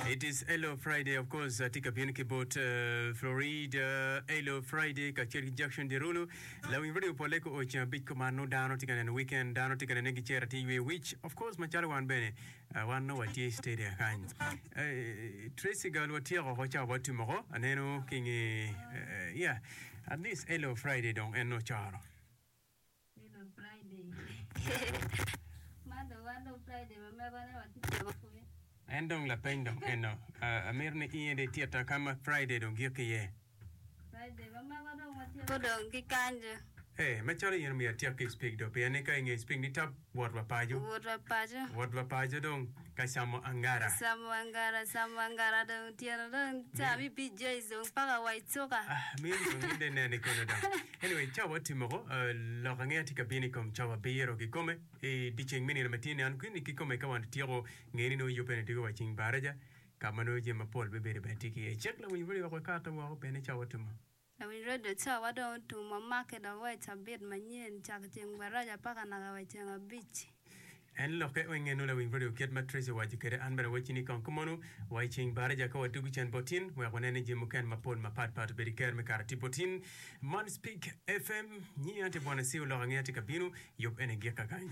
It is Hello Friday of course atye ka bino ki bot uh, Florida Hello Friday kacel ki Jackson Derulo lawiny radio pole ko oceng abic kuman nongo dano tye ka neno weekend dano tye ka nene gicero tye ywe wic of course macalo wan bene uh, wan nongo watye stadia kany uh, Tracy gal watyeko oko cawa watimo oko aneno ki nge uh, yeah at least Hello Friday dong en nongo coro Hello Friday. Man dong wan dong Friday ma megwa ne watye camo pwony. En dong lapeny dong eno. Amito ni in aye ititta ka ma Friday dong gik iye. Friday ma megwa dong watyeko dong ki kanjo. Ee, macalo in omyero atyek ki speak do, pien ni ka inge speak ni tap wot wa paco. Wot wa paco. Wot wa paco dong ka camo angara. Camo angara, camo angara dong otyeno dong ca mi PJs dong paka wa i cuka. Ah, meno dong in dong ineno i kono dong. Anyway, cawa otimo ko, uh, lok angeya tye ka bino i kom cawa abiro kikome i dyeceng me nino ma tye ni an kwini kikome ka wan otyeko nge ni nongo yubbe ni diko wa ceng baraja ka ma nongo jami mapol bibedo bene tye ki iye. Cik lawiny radio wek wakato woko pien ni cawa otimo. Lawiny redio cawa dong otum wamake dok wa i cabit manyen cako ceng baraja paka naka wa i ceng abic. En lokke weng eno lawiny redio kit ma Tracy owaco kwede an bene awacci ni kong kumonu wa i ceng baraja ka wadwogo cen bot tin wek wanen ni jami mukene mapol mapat pat obedo i ker me kare tye bot tin. Man Speak FM nyinga tye Bwana Siu lok angeya tye ka bino yub ene gik kakany.